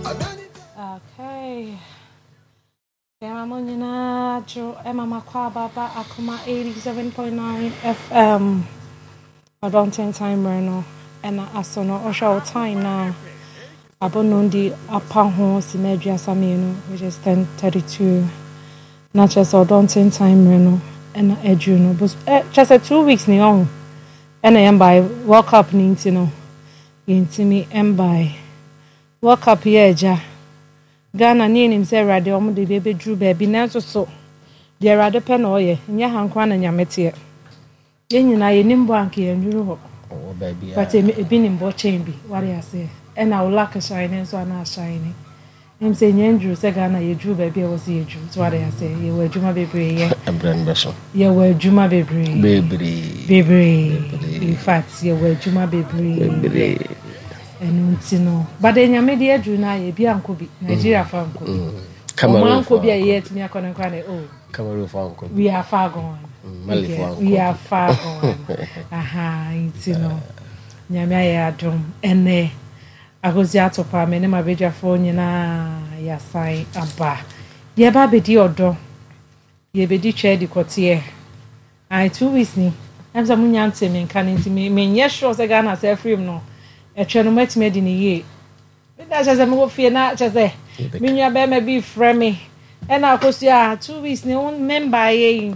Okay. Yɛma mo nyinaa dwo ɛma makɔ ababa akoma 87.9 FM. Ɔdɔ ntentan mmerɛ no ɛna aso no ɔhwɛ wo time na abɔ nondi apa ho sima 32 which is 10:32 na kyerɛ sɛ ɔdɔ ntentan mmerɛ no ɛna aduru no bos ɛ kyerɛ sɛ 2 weeks ni ɔho ɛna yɛn bae World Cup ne nti no yɛntumi mbae World Cup yɛ agya Ghana ne yɛnim sɛ Awurade ɔmo de bi bɛduru baabi, nanso so deɛ Awurade pɛ na ɔyɛ. Nyɛ ha nkoa na Nyame teɛ. Yɛn nyinaa yɛnim bɔ anka yɛnnuru hɔ, but ebi nim bɔ kyɛn bi, wade aseɛ. Ɛna wo luck shine nso ana shine ɛm sɛ nyɛ nduru sɛ Ghana yɛduru baabi a ɛwɔ sɛ yɛduru so, wade aseɛ. Yɛwɔ adwuma bebree yɛ. Ɛbrɛ no bɛso. Yɛwɔ adwuma bebree. Bebree. Bebree, in fact yɛwɔ adwuma bebree. Bebree. Ɛno nti no, but Nyame de aduru no ayɛ ebi ankɔ bi. Nigeria fa nkɔ bi, ɔmo ankɔ bi a yɛyɛ atumi akɔ no nkora ne oh. Cameroon fa nkɔ bi. We are far gone. Mali fa nkɔ. We are far gone. Aha, nti no Nyame ayɛ adom, ɛnɛ agosi atopa me ne m'abadwafoɔ nyinaa yɛasan aba. Yɛba abɛdi ɔdɔ, yɛbɛdi twɛ di kɔteɛ. Ayi 2 weeks ni ɛm sɛ monya nte me nka no, nti menyɛ sure sɛ Ghana sɛ afirim no ɛtwɛ no moatumi adi ne yie. Meda kyɛ sɛ mewɔ fie na kyɛ sɛ me nua bɛrima bi frɛ me ɛna akosua 2 weeks ni wo membaeɛ yi,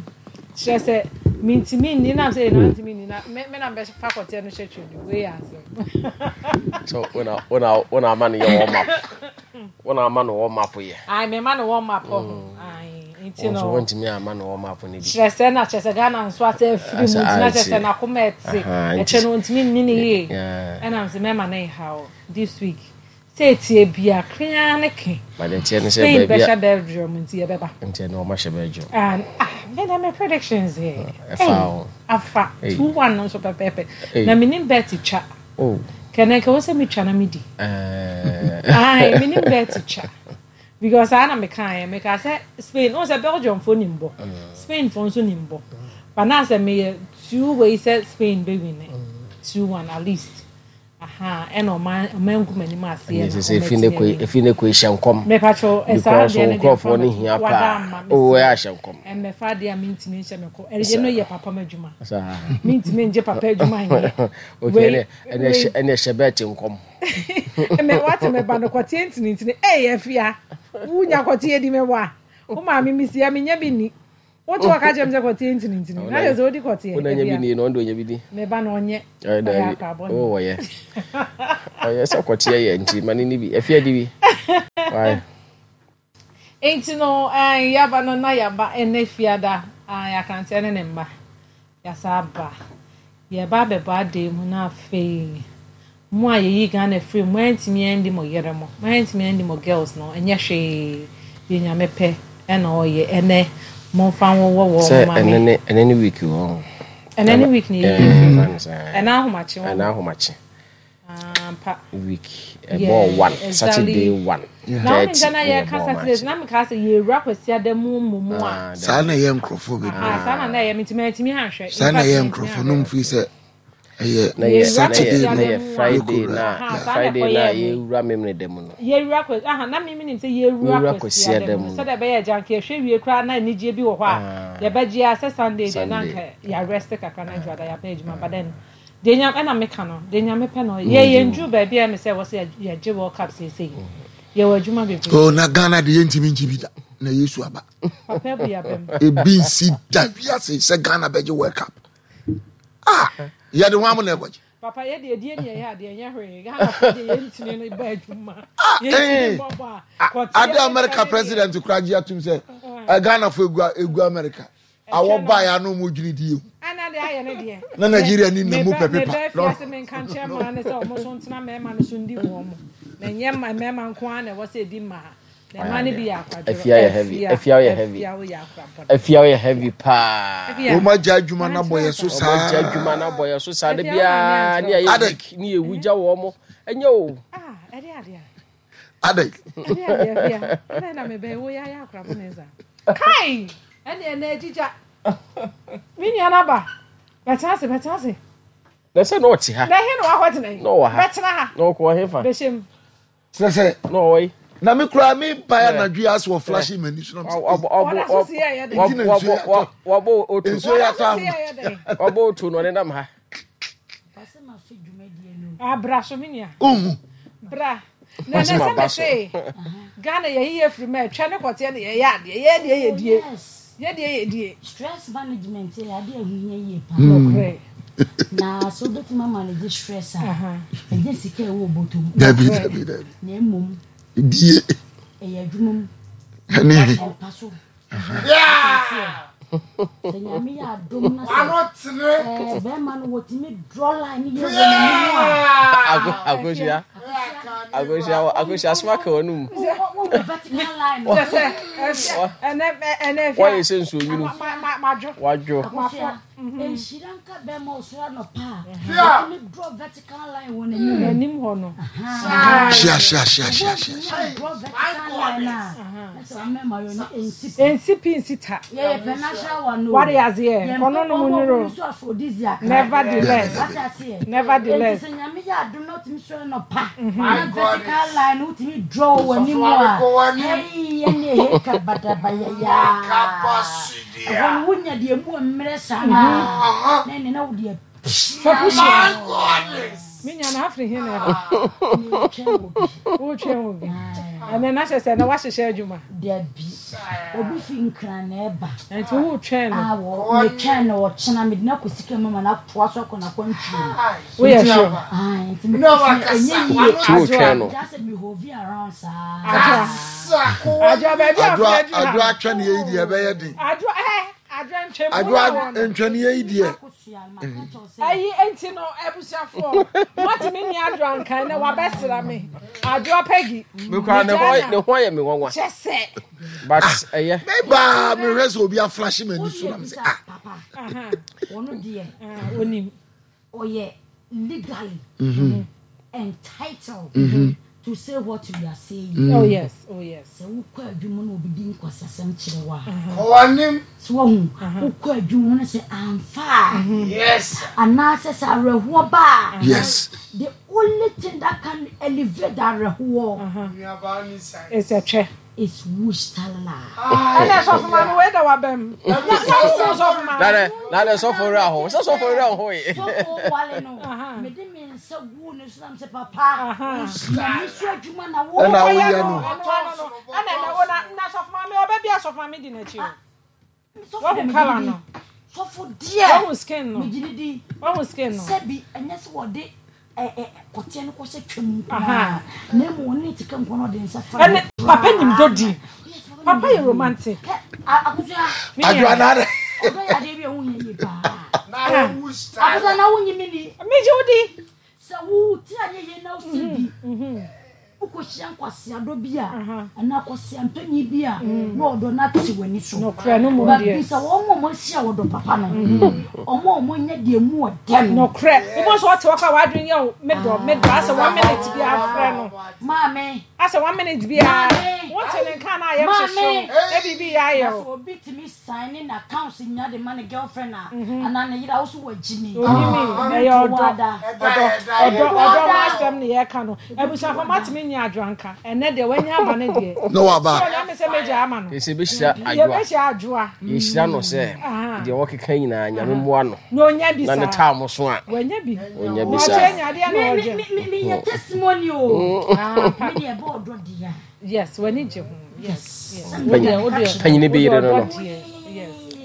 kyerɛ sɛ mentumi nni nam sɛ yɛna ntumi nni na me na mbɛfa kɔteɛ no hyɛ twɛ bi wei yɛ asɛm. So wona ama no yɛ warm up, wona ama no warm up yɛ. Ai, mema no warm up hɔ. Ai, nti no nso wɔntumi ama no warm up no bi. Kyerɛ sɛ na kyerɛ sɛ Ghana nso asɛ afiri mu, nti na kyerɛ sɛ n'akoma ɛte ɛkyɛ no ntumi nni ne yie. Ɛna sɛ mɛma ne nhaw this week sɛ etie bia krea ne ke. But ntiɛ ne sɛ Spain bɛhyɛ Belgium nti yɛbɛba. Ntiɛ ne ɔma hyɛ Belgium. And ah, me na me predictions yɛ ɛfa o. Afa 2-1 no nso pɛpɛɛpɛ na menim bet twa kɛnɛ kɛ wɔ sɛ metwa na medi. Ai, menim bet twa because saa na meka yɛ, meka sɛ Spain o, sɛ Belgium fo nim bɔ, Spain fo nso nim bɔ, but na sɛ meyɛ two way sɛ Spain bɛ win 2-1 at least. Aha, ɛna ɔma ngu m'anim aseɛ. Na sɛ efi ne kɔ, efi ne kɔ ehyɛ nkɔm. Mepatro ɛsaa deɛ no deɛ nkurɔfoɔ no hia paa o, ɛyɛ ahyɛ nkɔm. Ɛmɛfa adeɛ a mentumi nhyɛ me kɔ ɛyɛ no yɛ papa ma adwuma, mentumi ngye papa adwuma nyɛ. Okay, ɛnɛ ɛnɛ hyɛ bɛɛte nkɔm. Ɛmɛ wate mɛba no kɔteɛ ntinintini ɛyɛ afia wunya kɔteɛ di mɛwa wo maame mi si ɛmi nya bi ni. Wote wɔka kyerɛ me sɛ kɔteɛ ntinintini na kyerɛ sɛ wodi kɔteɛ. Wona nya bi ni na ɔno de ɔnya bi di. Meba na ɔnyɛ. Ɔyɛ daabi o, ɔyɛ ɔyɛ sɛ kɔteɛ yɛ nti ma ne ni bi afia di bi. Why? Nti no yaba no na yaba ɛnɛ fiada akranteɛ ne ne mma yasa aba, yɛba abɛbɔ adan mu. Na afei mo a yɛyi Ghana firi mu, moantumi andi mo yere mo, moantumi andi mo girls no, ɛnyɛ hwee, deɛ Nyame pɛ ɛna ɔyɛ. Ɛnɛ momfa nwowɔ wɔ sɛ mo ɛnɛ ne ɛnɛ ne week wɔ. Ɛnɛ ne week ne yɛyi firi mu, ɛnɛ ahomakye wɔ. Ɛnɛ ahomakye. Ampa. Week ɛbɔ 1, Saturday 1. Na wɔn nsa na yɛka Saturday na meka sɛ yɛwura Kwasiada mu mu a. Saa na ɛyɛ nkurɔfoɔ bebree. Saa na na ɛyɛ, mentumi antumi anhwɛ. Saa na ɛyɛ nkurɔfoɔ no mfiri sɛ ɛyɛ Saturday no. Yɛ Friday na Friday na yɛwura memene da mu no. Yɛwura Kwasi aha, na mímí nim sɛ yɛwura Kwasiada mu sɛdeɛ ɛbɛyɛ agya nka yɛhwɛ wie koraa na anigyeɛ bi wɔ hɔ a yɛbɛgye a sɛ Sunday deɛ na nka yɛarest kakra na adwada yɛaba adwuma. But then deɛ Nyame ɛna meka no, deɛ Nyame pɛ no yɛ. Yɛn duru baabi a ɛmɛ sɛ ɛwɔ sɛ yɛgye World Cup seesei, yɛwɔ adwuma bebree. Oh, na Ghana de yɛntumi nkyi bi da na Yesu aba. Papa bu yabɛm. Ebi nsi da wiase sɛ Ghana bɛgye World Cup. Ah, yɛde ho amo na ɛkɔgye. Papa, yɛ deɛ die ne yɛyɛ adeɛ nyɛ hwee. Ghana fo deɛ yɛntumi no bɔ adwuma. Yɛntumi bɔ bɔ a kɔte. Ade America president kora gye atum sɛ Ghana fo egu America. Awɔ ba ya no mo dwini di ehu. Ana de ayɛ ne deɛ. Na Nigeria ni na mu pɛ pepa. Mebɛ fiase me nka nkyɛn maa ne sɛ ɔmo so ntena mmarima no so ndi wɔn mo. Na nyɛ mmarima nko ara na ɛwɔ sɛ edi mmaa. Na mmaa no bi yɛ akwadworɔ. Afia yɛ heavy. Afia yɛ heavy. Afia yɛ heavy paa. Wɔn agya adwuma na bɔ yɛ so saa. Wɔn agya adwuma na bɔ yɛ so saa. De biara ne ayɛ week ne yɛ wugya wɔn mo. Ɛnyɛ o. Ah, ɛde adeɛ. Adɛ. Ɛde adeɛ afia. Ɛna na mebɛn wo yɛ ayɛ akorabɔ ne nsa. Kai! Ɛne ɛna agyigya. Me nua no aba. Bɛtena ase, bɛtena ase. Na sɛ na ɔte ha. Na ɛhe na wakɔtena yi? Na ɔwɔ ha. Bɛtena ha. Na ɔkɔ ɔhe fa? Bɛhyɛ mu. Kyerɛ sɛ. Na ɔwɔ yi. Na me koraa me ba ya anadwo yi asɛ wɔ flash m'ani so na me sɛ. Nti na nsuo yɛ atɔ. Wɔbɔ otu. Nsuo yɛ atɔ ahoma. Wɔbɔ otu na ɔne nam ha. Abra so me nua. Uhu. Bra. Na na sɛ me se Ghana yɛ yiye firi mɛ twɛ ne kɔteɛ ne yɛyɛ adeɛ yɛ deɛ yɛ die yɛ deɛ yɛ die. Stress management yɛ adeɛ ɛho hia yie paa. Nokorɛ. Na sɛ wobɛtumi amanage stress a, ɛnyɛ sika ɛwɔ bɔtɔ mu. Dabi dabi dabi. Na mmom. Die. Ɛyɛ adwuma mu. Ɛne. Ɛmpa so. Sɛ nyame yɛ adom na sɛ bɛrima no wɔtumi draw line yɛ wɔ n'anim a. Akosua akosua akosua asoma ka wɔn mu. Wɔyɛ sɛ nsuo nwunu. Wadwo. Nhyira nka bɛrima ɔsoro anɔpa a ɔtumi draw vertical line wɔ n'anim. N'anim hɔ no. Hyia hyia hyia hyia hyia. Draw vertical line a. Sɛ ɔmɛma yɛ no nsi pi. Nsi pi nsi ta. Yɛyɛ pɛ natural one o. Wade aseɛ. Kɔnɔ no mu nuro. Nevertheless. Wate aseɛ. Nevertheless. Nti sɛ nyame yɛ adom na wotumi sɔre nɔpa. Na vertical line no wotumi draw wɔ w'anim a. Hei ɛne ɛheka badabayayaa. Ɛhɔ no wonya deɛ mu mmerɛ saa na na ɛne na wode apia. Me nua na afiri he na ɛba? Wotwɛn wɔ bi. Ɛnɛ na kyerɛ sɛ na wahyehyɛ adwuma. Dabi. Obi fi Nkran na ɛba. Nti wotwɛn no. Ah, wɔ metwɛn no ɔkyena mede no akɔ sika mu ma no atoa so akɔ n'akwantuo mu. Woyɛ sure? Ah, nti mekɔ fie ɛnyɛ yie. Nti wotwɛn no. Gya sɛ mehovi around saa. Adwoa. Adwoa baabi a Adwoa afei aduru ha. adwoa atwɛn yɛ yi deɛ ɛbɛyɛ den. Adwoa ɛ adwoa ntwɛn mu Adwoa na wɔn. ntwɛn yɛ yi deɛ. Ayi enti no abusuafoɔ moatumi nni adwoa nkan na wabɛsra me adwoa Peggy. Mekura ne ho ne ho ayɛ me nwanwa. Kyɛ sɛ. But ɛyɛ. Me baa mehwɛ sɛ obi aflashe m'ani so na me sɛ ah. Papa. Aha. Wɔn deɛ. Onim. Ɔyɛ legally entitled to say what we are saying. Oh yes, oh yes. Sɛ wokɔ adwuma na obi di nkwasasɛm kyerɛ wo a. Kɔ w'anim. So wahu, wokɔ adwuma mu na sɛ amfa a. Yes. Anaasɛ sɛ awerɛhoɔ ba a. Yes. The only thing that can elevate the awerɛhoɔ. Nuabaa ni sign. Is a twɛ. Is wush talala. Ɛna sɔfo maame wei da wabɛm. Na na wo sɔfo maame. Na na na sɔfo wura ho. Sɛ sɔfo wura ho yi. Sɔfo wale no. Mede me nsa gu ne so na mesɛ papa. Nyame so adwuma na wo. Ɛna woyɛ no. Ɛna na wo na na sɔfo maame ɔbɛ bi a sɔfo maame di n'akyi o. Wahu kala no. Sɔfo deɛ. Wahu skin no. Megyina di. Wahu skin no. Sɛbi ɛnyɛ sɛ wɔde kɔteɛ no kɔhyɛ twam nko ara na mmom ɔne ne tika nko na ɔde nsa fa. Ɛne papa nim dɔ di. Papa yɛ romantic. Akosua. Adwoa na adɛ. Ɔdɔ yɛ adeɛ bi a ɛho hia yie paa. Akosua na wonyi me ni. Megye wo di. Sɛ wo ti anyɛ yie na wosɛ bi, wokɔhyia nkwaseadɔ bi a, anaa kwaseampanyin bi a, na ɔdɔ no ate w'ani so. Nokorɛ no mmom But deɛ. bisa wɔn a wɔahyia ɔdɔ papa no, wɔn a wɔanya deɛ mu ɔdɛ no. Nokorɛ. Wobɛhu sɛ ɔte hɔ koraa w'adwene yɛ wo medɔ medɔ asɛ one minute biara frɛ no. Maame. Asɛ one minute biara Maame. wonte ne nka na ayɛ hyehye wo Maame. na biribi yɛ ayɛ Na wo. sɛ obi tumi sign ne n'accounts nyinaa de ma ne girlfriend a, anaa ne yere a, wo so wagyi me. Onyimi, ɛyɛ ɔdɔ, ɔdɔ, ɔdɔ, ɔdɔ ho asɛm ne yɛka no. Abusuafo matumi nyɛ adwoa nka. Ɛnɛ deɛ wanya aba ne deɛ. Na waba. So ɔnyame sɛ mɛgya ama no. Yɛsɛ yɛbɛhyira adwoa. Yɛbɛhyira adwoa. Yɛhyira no sɛ deɛ wɔkeka nyinaa nyame mmoa no. Na onya bi Na ne saa. taa mo so a. Wanya bi. Onya bi saa. Ɔkyɛ nya adeɛ na ɔgye. Me me me yɛ testimony o. Me deɛ ɛbɔ ɔdɔ deɛ. Yes, w'ani gye ho. Yes, yes. Panyini bɛyere no no.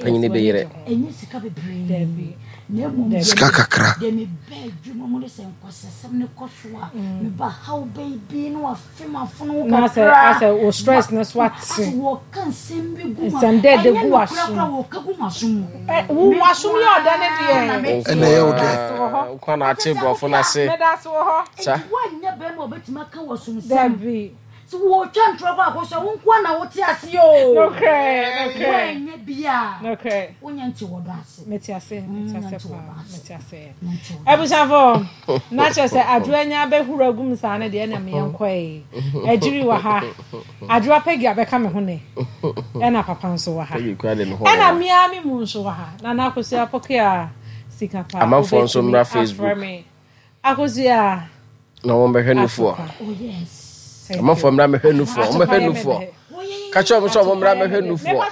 Panyini bɛyere. Ɛnyɛ sika bebree. Na mmom Sika kakra. Deɛ mebɛ adwuma mu ne sɛ nkɔsɛsɛm ne kɔ so a meba haw bɛyi na wafe m'afono ho Na sɛ kakra. asɛ wo stress ne so ate. Asɛ wɔka nsɛm bi gu ma. Nsɛm dɛɛdɛ Ɛnyɛ gu nokorɛ w'asom. koraa wɔka gu m'asom mu. Ɛ wo w'asom yɛ ɔdɛ ne deɛ. Ɛna ɛyɛ wo dɛ. Nkwa na ate borɔfo no ase. Meda ase wɔ hɔ. Sa. Nti woanyɛ bɛrima a ɔbɛtumi aka w'asomsɛm. Dabi. Sɛ wɔretwa ntorɔ kɔ akɔ so a, wo nko ara na wote aseɛ o. Nokorɛ, nokorɛ. Woanyɛ bi a, Nokorɛ. wonyɛ nte wɔ dɔ ase. Mete ase, mete Wonyɛ ase nte wɔ paa, dɔ ase. mete ase. Wonyɛ nte wɔ dɔ ase. Abusuafo, na kyerɛ sɛ Adwoa anya abɛhuru agu mu saa no deɛ ɛna meɛ nkɔe. Agyiri wɔ ha, Adwoa Peggy abɛka me ho nɛ, ɛna papa nso wɔ ha. Peggy kura de ne ho Ɛna wɔ. me ara me mu nso wɔ ha. Nana Akosua Pokuaa, sika paa, Amanfoɔ nso wobɛtumi mmra afrɛ Facebook. me. Akosua. Na wɔn bɛhwɛ nufoɔ. Oh yes. Amanfoɔ mmra mɛhwɛ nufoɔ. Ɔmo bɛhwɛ nufoɔ. Ka kyerɛ ɔmo sɛ ɔmo mmra mɛhwɛ nufoɔ.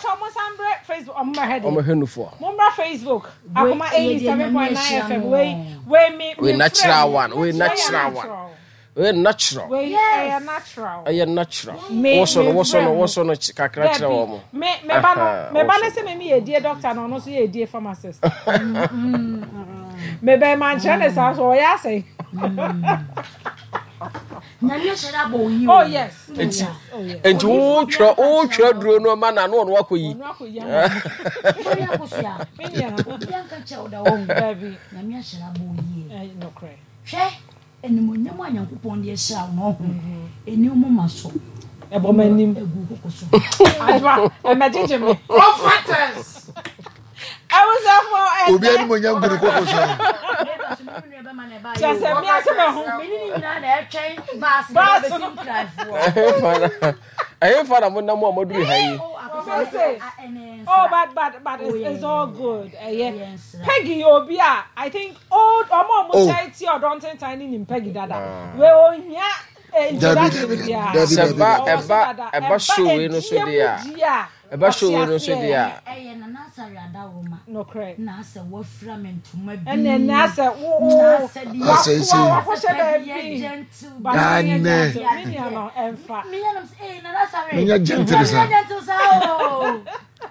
Facebook ɔmo bɛhwɛ deɛ. Ɔmo hwɛ nufoɔ. Mommra Facebook Akoma 87.9 FM wei wei me Wei natural one. Wei natural one. Wei natural. Wei ɛyɛ natural. Ɛyɛ natural. Me Woso no me woso no frɛ mo. woso no kakra kyerɛ Dabi wɔn. me me ba no me ba no Woso. sɛ me me yɛ die doctor na ɔno nso yɛ die pharmacist. Me bɛn ma nkyerɛ ne saa so ɔyɛ asɛn. Nyame ahyɛ da abɔ wo yi o. Oh yes. Enti Oh yes. enti wotwerɛ wotwerɛ duro no ma na no ɔno akɔ yi. Ɔno akɔ yi ama me. Wobɛyɛ akosua. Me nua. Obi anka kyerɛ wo da wɔn. Dabi. Nyame ahyɛ da abɔ wo yie. Nokorɛ. Hwɛ animonyam a Nyankopɔn de ahyira wo no ɔho. Ɛni wo moma so. Ɛbɔ m'anim. Ɛgu koko so. Adwoa, ɛmɛgyegye me. Prophetess. Abusuafo ɛnɛ. Obi animonyam gu ne koko so. Meba so me nua bɛma na ɛba Kyerɛ sɛ mmea sɛ mahu. Me ne ne nyinaa na ɛtwɛn baasi na Baasi ɛbɛsi no. nkraefoɔ. Ɛhefa na monam a moaduru ha yi? Oh, Mese, Oh, but it's all good. Ɛyɛ. Yes. Peggy yɛ obi a I think old ɔmo a ɔmo Oh. kyɛn ti ɔdɔ ntentan ne nim Peggy dada. Wei ohia introduction Dabi, dabi, biara. dabi, Sɛ dabi, ba dabi. Ɔwɔ so ɛba dada. ɛba show wei no so edie deɛ a mu die a ɛba show wei ɔte no so aseɛ. deɛ a Ɛyɛ Nana Asare Adaworoma. Nokorɛ. Na asɛ wafira me ntoma bi. Ɛnna ɛnna asɛ wo wo Na asɛ deɛ Asɛ esi. wakoa wakɔhyɛ Peggy yɛ baabi. gentle But bi. menyɛ Dane. gentle. Me nua no ɛmfa. Meyɛ nam sɛ, "Ee, Nana Asare." Menyɛ gentle saa. Menyɛ gentle saa o.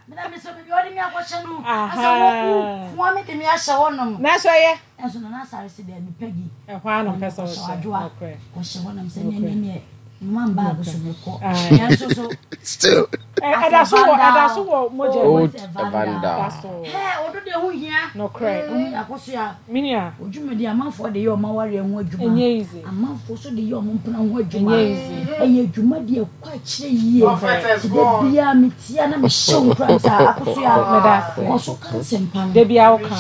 Mena me sɛ baabi a ɔde me akɔhyɛ no. Asɛ wo wo me de me ahyɛ hɔnom. Nanso ɛyɛ. Nanso Nana Asare sɛ daabi Peggy. Ɛhɔ ara na ɔpɛ sɛ ɔhyɛ. Adwoa. Nokorɛ. Kɔhyɛ hɔnom sɛ neɛ neɛ neɛ mma baage so mekɔ. Aye. Nanso so Still. Ɛda so wɔ ɛda so wɔ mogya mu. Old Vandal. Vandal. Ɛda so. Hɛ, ɔdo deɛ ho hia. Nokorɛ. Ho hia akɔsoa. Me nua. Odwumadi amanfoɔ de yɛ ɔmo awareɛ ho adwuma. Ɛnyɛ easy. Amanfoɔ nso de yɛ ɔmo mpena ho adwuma. Ɛnyɛ easy. Ɛyɛ adwuma deɛ ɛkɔ akyire yie. Prophetess Da God. biara metia na mehyɛ wo nkuran sɛ akɔsoa. Meda ase. Kɔ so ka nsɛmpa no. Da biara woka.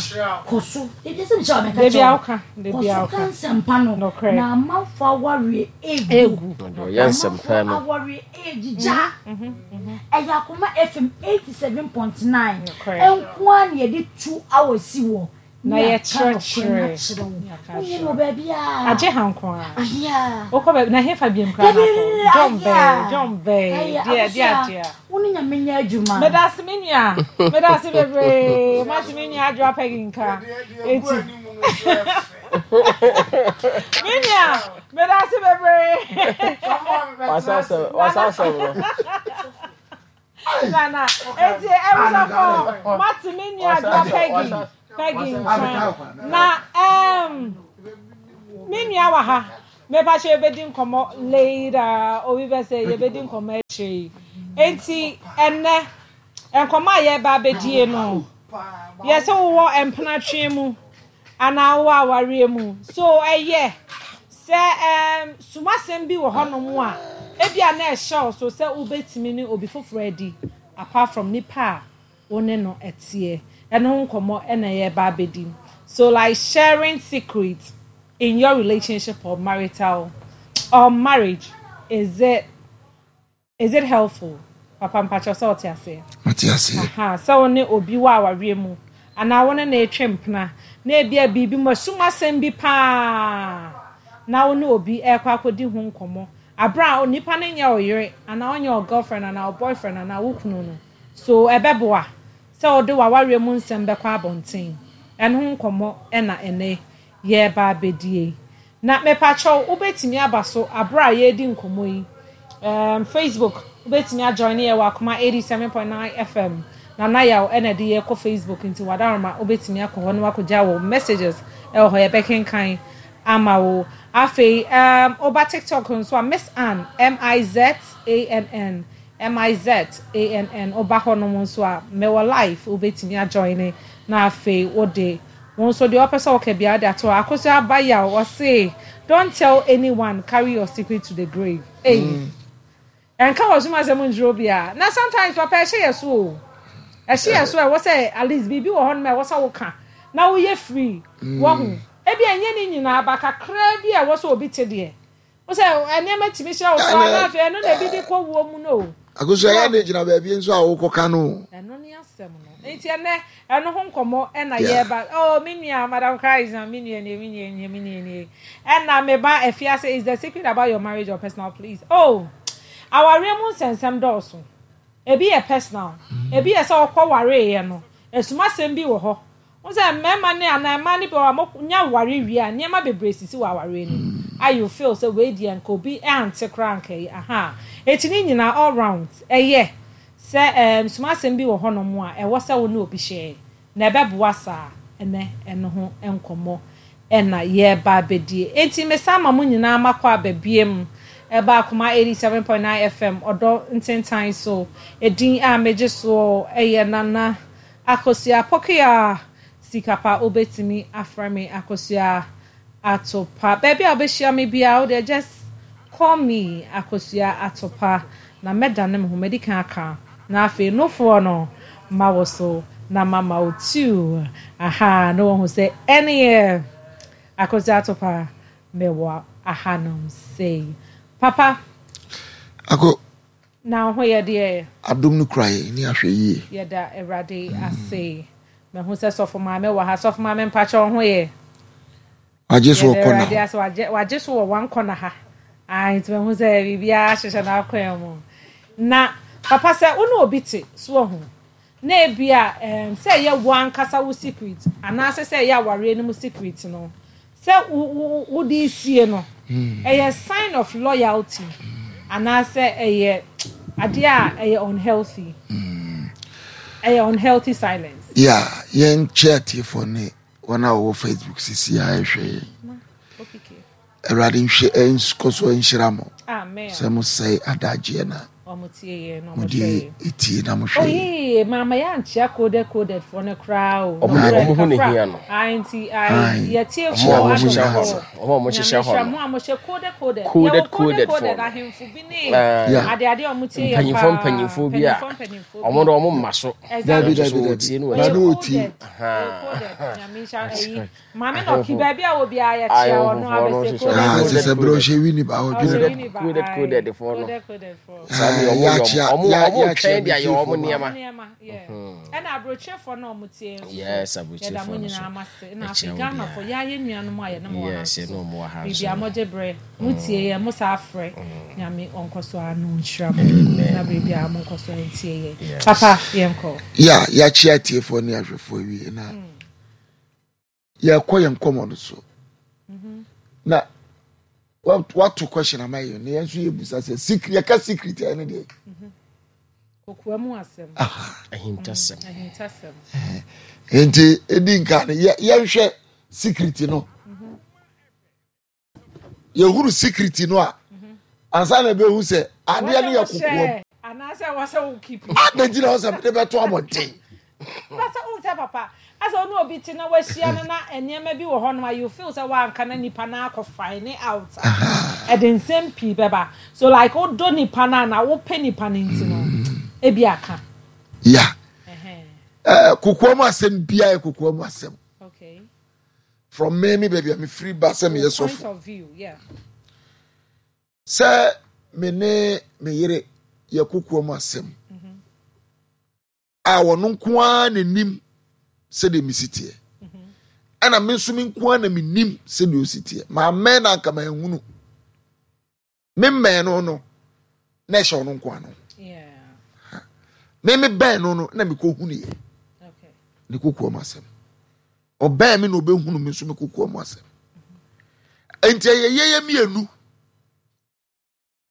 Kɔ so. Da biara sɛ mehyɛ wo a mɛka Da kyerɛ biara wo. woka. Da Kɔ biara so ka woka. nsɛmpa no. Nokorɛ. Na amanfoɔ awareɛ egu. Egu. Ɔyɛ nsɛmpa Amanfoɔ no. awareɛ egyigya. Ɛyɛ Akoma FM 87.9 Nokorɛ. nko ara na yɛde 2 hours si hɔ. Na Ne yɛaka nokorɛ no yɛkyerɛkyerɛ. akyerɛ wo. Yɛaka Wonyɛ akyerɛ no wɔ wo. baabiara. Agye ha nko ara. Ahia. Wokɔ baabi na hefa biam koraa na Dabi, akɔ. John ahia. bɛɛ, John bɛɛ. Ɛyɛ Deɛ deɛ Akosua, adeɛ. wo ne Nyame nyɛ adwuma. Meda ase me nua. Meda ase bebree. Mate me nua Adwoa Peggy nka. Eti. Me nua, meda ase bebree. Wasa asɛm wasa asɛm no. Nana, eti ebusafo mate me nua Adwoa Peggy. Peggy nka. Na me nua wɔ ha. Mepa kyɛ yɛbɛdi nkɔmmɔ later. Obi bɛ sɛ yɛbɛdi nkɔmmɔ akyire yi. Enti ɛnnɛ nkɔmmɔ a yɛreba abɛdie no, yɛsɛ wowɔ mpenatwe mu anaa wowɔ awareɛ mu. So ɛyɛ sɛ sumasɛm bi wɔ hɔnom a ebia na ɛhyɛ wo so sɛ wobɛtumi ne obi foforɔ adi apart from nipa a wo ne no ɛteɛ. Ɛno ho nkɔmmɔ ɛna yɛreba abɛdi. So like sharing secrets in your relationship or marital or marriage, is it helpful? Papa mpakyɛw sɛ ɔte aseɛ. Mate aseɛ. Aha, sɛ wo ne obi wɔ awareɛ mu anaa wo ne na etwe mpena na ebia biribi mu asum asɛm bi paa na wo ne obi ɛrekɔ akɔdi ho nkɔmmɔ abere a onipa no nyɛ ɔyere anaa ɔnyɛ ɔ girlfriend anaa ɔ boyfriend anaa wo kunu no, so ɛbɛboa sɛ wode w'awareɛ mu nsɛm bɛkɔ abɔnten? Ɛno ho nkɔmmɔ ɛna ɛnɛ yɛreba abɛdie. Na mepakyɛw wobɛtumi aba so abere a yɛredi nkɔmmɔ yi. Facebook wobɛtumi ajoin yɛ wɔ Akoma 87.9 FM. Nana Yaw ɛna de yɛkɔ Facebook, nti wadaroma wobɛtumi akɔ hɔ na wakɔgya wo messages ɛwɔ hɔ, yɛbɛkenkan ama wo. Afei woba TikTok nso a, Miss Ann, Mizann, Mizann, woba hɔnom nso a mewɔ live, wobɛtumi ajoin na afei wode wɔn nso deɛ ɔpɛ sɛ ɔka biara de ato hɔ. Akosua Aba Yaw ɔse, "Don't tell anyone, carry your secret to the grave." Hey. Ɛnka wɔ soma asɛm nkyerɛ obiara. Na sometimes papa ɛhyɛ yɛ so o, ɛhyɛ yɛ so a ɛwɔ sɛ at least biribi wɔ hɔnom a ɛwɔ sɛ woka na woyɛ free. Wɔho ebi ɛnyɛ ne nyinaa ba kakraa bi a ɛwɔ sɛ obi te deɛ wo sɛ nneɛma tumi hyɛ wo so a na afei ɛno na ebi de kɔ wuo mu no o. Akosua yɛ ne gyina baabi nso a wokɔka no. Ɛno ne asɛm no. Nti ɛnɛ ɛno ho nkɔmmɔ ɛna yɛba. Oh me nua Madam Christ na me nua nie me nua nie me nua nie. Ɛna me ba Afiase is the secret about your marriage or personal please. Oh awareɛ mu nsɛnsɛm dɔɔso. Ebi yɛ personal, ebi yɛ sɛ ɔkɔ wareeɛ no asumasɛm bi wɔ hɔ. Wohu sɛ mmarima ne anaa mmaa no bi wɔ hɔ a monya ware wie a nneɛma bebree sisi wɔ awareɛ no mu a you feel sɛ wei deɛ nka obi ante koraa nka yi ahaa. Enti ne nyinaa all round ɛyɛ sɛ ɛɛm sumasɛm bi wɔ hɔnom a ɛwɔ sɛ wo ne obi share na ɛbɛboa saa ɛnɛ ɛno ho nkɔmmɔ na yɛreba abɛdie. Enti mesan ma mo nyinaa makɔ aba biam ɛba Akoma 87.9 FM ɔdɔ ntentan so. Edin a megye soɔ yɛ Nana Akosua Pokuya Sikapa wobɛtumi afrɛ me Akosua Atopa. Baabi a wobɛhyia me biara wo deɛ just call me Akosua Atopa na mɛdane me ho, madi kan aka na afei nofoɔ no ma wo so na mama wo too ahaa na wahu sɛ ɛneɛ Akosua Atopa mewɔ ahanom sei. Papa. Ako. Na wo ho yɛ deɛ? Adom no kura yɛn ne ahwɛ yie. Yɛda Awurade ase. Mahu sɛ sɔfo maame wɔ ha. Sɔfo maame mpakyɛ wo ho yɛ? Wagye so wɔ kɔna hɔ. Ase wagye wagye so wɔ one kɔna ha. Ah, nti mahu sɛ biribiara hyehyɛ n'akwan mu. Na papa sɛ wo ne obi te so ahu na ebi a um, sɛ ɛyɛ wo ankasa wo secret anaasɛ sɛ ɛyɛ awareɛ no mu secret no sɛ wo wo wode sie no hmm. ɛyɛ sign of loyalty anaasɛ ɛyɛ adeɛ a ɛyɛ unhealthy hmm. ɛyɛ unhealthy silence. Yeah, yɛn kyɛ atiefoɔ ne wɔn a wɔwɔ facebook sisi a ɛhwɛ yɛn awurade nhwɛ nkɔ so nhyira mo sɛ mo sɛe adagyeɛ na mode ɛtie na mohwɛ yɛn maama yɛ ankyea coded coded foɔ no koraa o ɔmo ho ne hia no nti yɛtiefoɔ adɔfoɔ ɔmo a ɔmo hyehyɛ hɔ no mo a mohyɛ coded coded coded coded foɔ no ahemfo bi ne adeade a ɔmo tie yɛ paa mpanyinfoɔ mpanyinfoɔ bi a ɔmo de ɔmo mma so dabi dabi dabi na ne ɔtie maame na ɔki baabi a wɔ biara yɛkyia ɔno abɛsɛ coded ah, sɛ sɛ berɛ ɔhyɛ wini ba ɔdwene coded coded foɔ no saa deɛ ɔmo yɛ ɔmo ɔmo twɛn de ayɛ ɔmo nneɛma ɛna aburokyefoɔ na ɔmo tie nso yes aburokyefoɔ yɛda mo no so nyinaa mo ase na afei ghanafoɔ yɛayɛ nuanom a yɛne mo wɔ ha yes yɛne ɔmo wɔ ha biribi nso a mogye berɛ mo tie yɛn mo saa frɛ nyame ɔnkɔ so ano nhyira mo na biribi a mo nkɔ so ntie yɛn papa yɛnkɔ. ya yɛakyia atiefoɔ ne ahwɛfoɔ awie na yɛkɔ yɛn nkɔmmɔ no so na wato question ama yɛn na yɛn nso yɛbusa sɛ secret yɛka secret a ɛne deɛ kokoa mu asɛm ahintasɛm ahintasɛm nti ɛdi nka no yɛnhwɛ secret no yɛhunu secret no a ansa na ɛbɛhu sɛ adeɛ no yɛ kokoam anaasɛ wɔsɛ wo keep adɛn nti na wɔ sɛ mede bɛto abɔnten sɛ wo sɛ papa asɛ wo ne obi te na wahyia no na nneɛma bi wɔ hɔ nom a you feel sɛ woanka na nipa no akɔ find out a ɛde nsɛm pii bɛba so like wodɔ nipa no a na wopɛ nipa no nti no ebi aka ya kokoam asɛm biara yɛ kokoam asɛm okay from me me baabi a mefiri ba sɛ meyɛ sɔfo sɛ me ne me yere yɛ kokoa mu asɛm mm-hmm. a wɔno nko ara n'anim sɛdeɛ mesi teɛ mm-hmm. ɛna me nso me nko ara na menim sɛdeɛ ɔsi teɛ maamɛn na anka manhunu Me mmɛn no no na ɛhyɛ ɔno nko ano. Me me bɛn no no na mekɔ hunu yɛ. Ne kokoa mu asɛm. Ɔbɛn me na ɔbɛhunu me nso me kokoa mu asɛm. Nti ɛyɛ yɛyɛ mmienu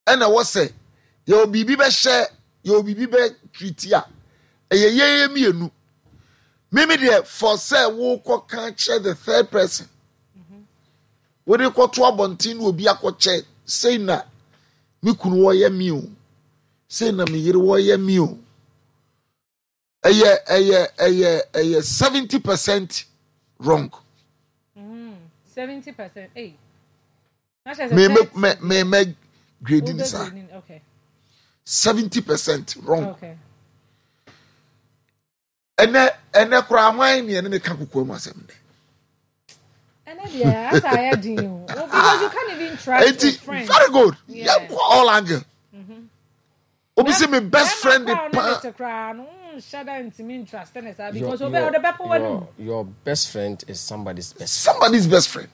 ɛna ɛwɔ sɛ yɛwɔ biribi bɛhyɛ yɛwɔ biribi bɛtwiti a ɛyɛ yɛyɛ mmienu. Mimi deɛ for sɛ wokɔ ka kyerɛ the third person. Wode kɔto abɔnten na obi akɔkyɛ sei na me kunu wɔyɛ me o sei na me yere wɔyɛ me o ɛyɛ ɛyɛ ɛyɛ ɛyɛ 70% wrong. 70%. Hey. Me me me me me grade ni saa. 70% wrong. Okay. Ɛnɛ ɛnɛ koraa hwan ne ɛne ne ka kokoa mu asɛm nnɛ. Ɛnɛ deɛ asa ayɛ den o. Well, because you can't even trust Enti, your friend. Very good. Yeah. Yɛnkɔ all angle. Mm-hmm. Obi sɛ. Mese me best friend paa. Your best friend is somebody's best. Somebody's best friend.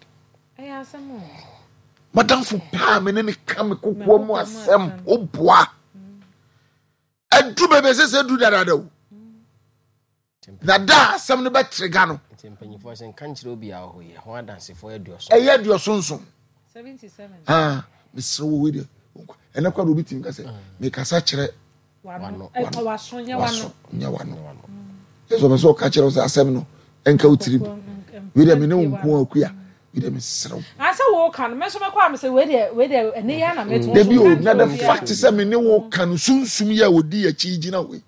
Madamfo paa me ne ne ka me kokoa mu asɛm woboa. Ɛduru baabi ɛsɛ sɛ ɛduru dadaada o. Na da a asɛm no bɛtrega no. Nti mpanyinfoɔ sɛ nka nkyerɛ obi a ɔhɔ yi ho adansefoɔ aduɔson. Ɛyɛ aduɔson nson. Ah, mesrɛ wo wei deɛ ɛnɛ kora de obi tumi ka sɛ mekasa kyerɛ wano waso nyɛ wano yɛ sɛ ɔpɛ sɛ ɔka kyerɛ wo sɛ asɛm no ɛnka wo tirim wei deɛ me ne wo nko akua wei deɛ mesrɛ wo. Asɛ wo ka no me nso mɛkɔ a mesɛ wei deɛ wei deɛ ɛne yɛ na mɛto. Dabi o na the fact sɛ me ne wo ka no sunsum yɛ a ɔdi akyi gyina wei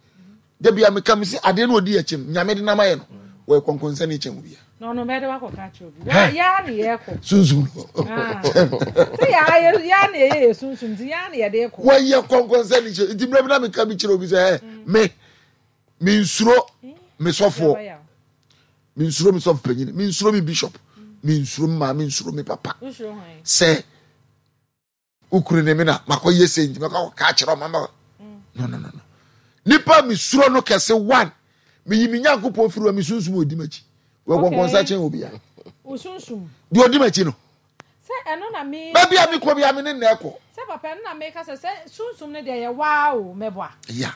Da bia meka mesi adeɛ no ɔdi akyi no nyame de nam ayɛ no wɔyɛ kɔnkɔnsani kyɛn obi a. Na ɔno bɛde wakɔ ka kyerɛ obi. Wa ya ne yɛ kɔ. Sunsum no. Ah. Sɛ ya ya ya ne yɛ yɛ sunsum ti ya ne yɛ de kɔ. Wɔyɛ kɔnkɔnsani kyɛn nti mmerɛ bi na meka bi kyerɛ obi sɛ ɛ me me nsuro me sɔfoɔ me nsuro me sɔfo panyin me nsuro me bishop me nsuro me maame nsuro me papa sɛ. Wo kunu ne me na makɔyɛ sei nti mɛkɔ akɔka akyerɛ ɔma ma no no no no nipa mesuro no kɛse one meyi me nyankopɔn firi wa me sunsum ɔdi m'akyi wɔkɔnkɔnsa kyɛn obia deɛ ɔdi m'akyi no baabi a mekɔ bia me ne nnɛ kɔ ya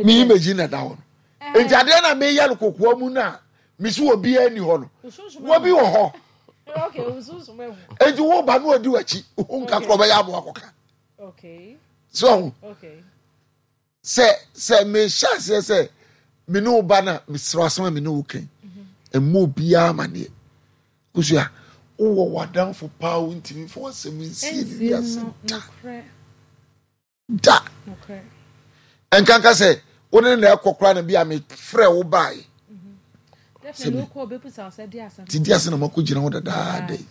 meyi m'akyi na da hɔ no nti adeɛ na meyɛ no kokoa mu no a mesi obiara ni hɔ no wɔbi wɔ hɔ enti wo ba no ɔdi w'akyi wo nka korɔ bɛyɛ aboa kɔka so ɔho sɛ sɛ mehyɛ aseɛ sɛ me ne wo ba no a mesrɛ asɛm a me ne wo kan ɛmmɔ obiara amaneɛ kosua wowɔ w'adamfo paa wontumi fa w'asɛm nsie ne wiase da. Da. Ɛnkanka sɛ wo ne na ɛkɔ koraa na bi a mefrɛ wo baeɛ. Sɛ me ti di ase na makɔ gyina hɔ dadaada yi.